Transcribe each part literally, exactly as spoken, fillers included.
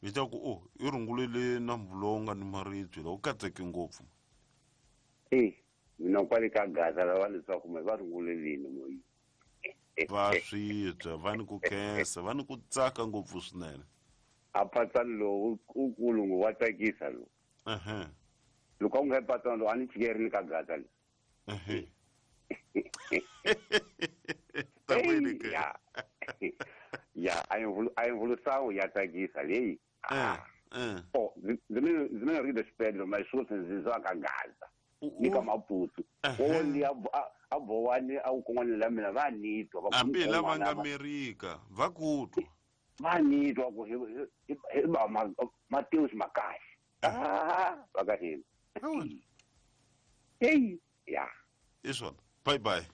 Mi ta ku o i rungulele nambu lowu nga ni maribye lowu katseke ngopfu. Eh, mina kwale ka Gaza lava leswaku me va rungulelini moyi. Va swi twa, va ni ku khensa, va ni ku tsaka ngopfu swinene. A patsano lowu u kulu wa tsakisa lowu. Ehe. Loko u nga patsano lowu a ni chikerini ka Gaza le. Ehe. Ta wena ke. Ya. Ya, a yi mvulusawu ya tsakisa leyi. Eh, eh. Oh, ndzi mina ri de Pedro mas sweswi ndzi zwa ka Gaza. Ni ka Maputo. Wo ni a a bowani a kun'wana la mina va ni twa va hambi lava nga Amerika va ku twa. Va ni twa ku hi hi ba Mateus Makashi. Ah, va ka hina. Hey, ya. Isona. Bye bye.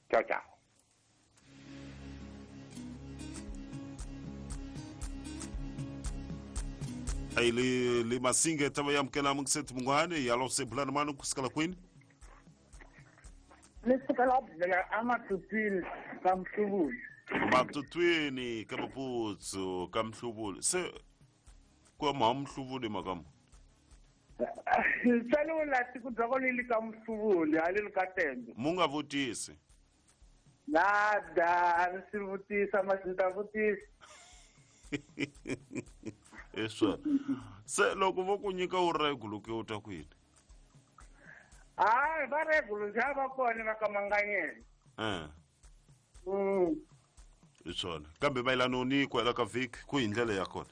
Ciao ciao. Aí le le masinga tava yamkela muksethi mungwane yalo sebulana manu kusikala kwini lesikala bela amatutwini kamhlubuli matutwini kamaputsu kamhlubuli se kwa mamhlubuli makamu tsalo la tikudza le kamhlubuli ale likatembe munga vutisi nada a ri vutisa masinta vutisa Eswa. Se loko vo ku nyika u regulo ke u ta kwini? Ah, va regulo ja va kona va ka manganyela. Eh. Mm. Isona. Kambe mayelana ni kwela ka vhiki ku hi ndlela ya kona.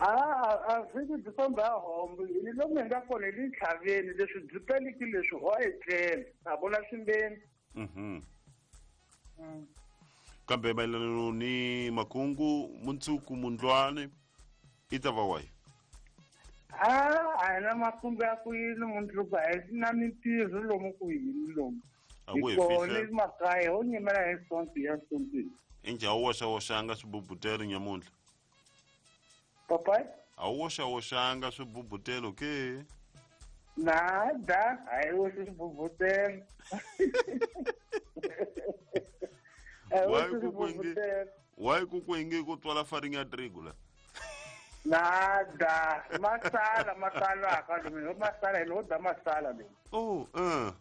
Ah, a vhiki byi famba hombo. Hi lomu hi nga kona hi le ntlhaveni leswi byi peliki leswi ho etlela. A vona swimbeni. Mhm. Mm. Kambe mayelana ni makungu muntsuku mundlwane i ta va wahi? Ah, a hi na makungu ya ku yini mundzuku a hi na mintirho lomu ku yini lomu. A ku hi Kona fihla. makaya ho nyimela hi sonto ya sontweni. Injhe a wu woxawoxanga swibubutelo nyamuntlha? Papai? A wu woxawoxanga swibubutelo ke? Nada, a hi woxi swibubutelo. A hi Why woxi ku ku inge swibubutelo. why ku ku inge ku twala farinha ya trigo la? Nada, masala masala ka lomu, masala hi lo da masala lomu. Oh, eh.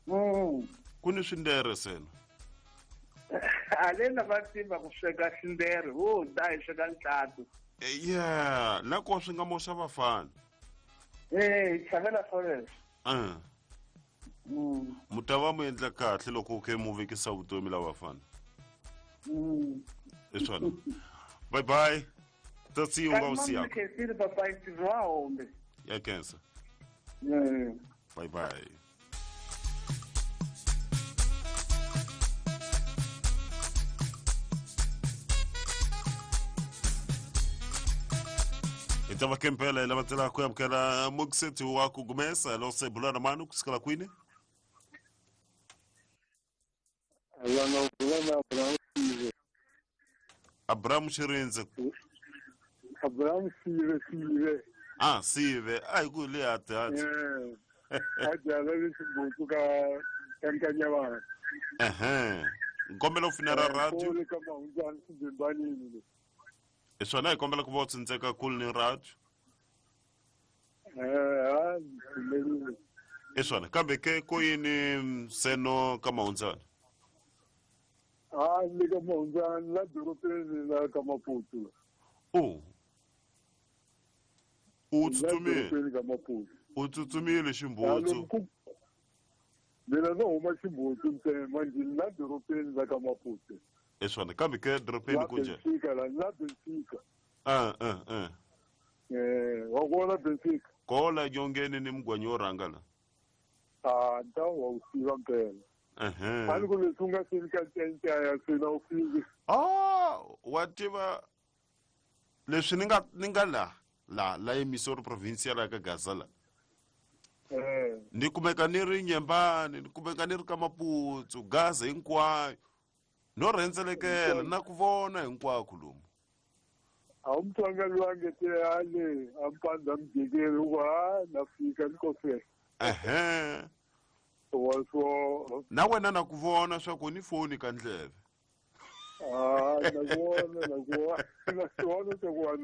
Mm. Ku ni swindere sena. Ale na va tiva ku sweka xindere, ho da hi sweka ntlhatu. Yeah, na ko swi nga moxa vafana. Eh, xavela forest. Eh. Mm. Mu ta va mu endla kahle loko u khe mu vekisa vutomi la vafana. Mm. Hi swona. Bye bye. Ta siya u nga wu siyaka. Khensile papai tirho wa hombe. Ya khensa. Mm. Bye bye. Hi ta va kempela hi lava tsela ku amukela muksethi wa ku gumesa lo sebulana manu kusikala kwini? Alana Abraham Abraham Sive. Abraham Shirindze. Abraham Sive Sive. Ah, Sive. Ai ku le ati ati. Eh. A jala le xibutsu ka ka Nkanyavana. Ehe. Nkombela u finela radio. Ko le ka Mahundzani Swibembanini le. Hi swona hi kombela ku va u tsindzeka kule ni radio. Eh, ha, pfumerile. Hi swona kambe ke ko yini seno ka Mahundzani? Ah, le ka Mahundzani la dorobeni la ka Maputo. Oh. U La tsutsumile. dorobeni ka Maputo. U tsutsumile ximbutsu. Mina no huma ximbutsu ntsena manje la dorobeni la ka Maputo. Hi swona kambe ke dorobeni ku njhani? Benfica la la Benfica. Ah, ah, ah. Eh, wa vona Benfica. Kola nyongeni ni mugwanyi wo rhanga la. Ah, nta wa wu tiva mpela. Ehe. A ni ku leswi u nga seni ka ncensaya se na u fiki. Ah, wa tiva leswi ni nga ni nga la la la emisori provincial ya ka Gaza la. Eh. Ni kumeka ni ri Nyembani, ni kumeka ni ri ka Maputsu, Gaza hinkwayo. No rhendzelekela na ku vona hinkwako lomu. A wu mutsonga loyi a nge te ale a mpandza mujekeni u ku ha na fika ni ko fela. Ehe. Wa swo. Na wena na ku vona swa ku ni foni ka ndleve. Ah, na ku vona, na ku vona, na ku vona swa ku wa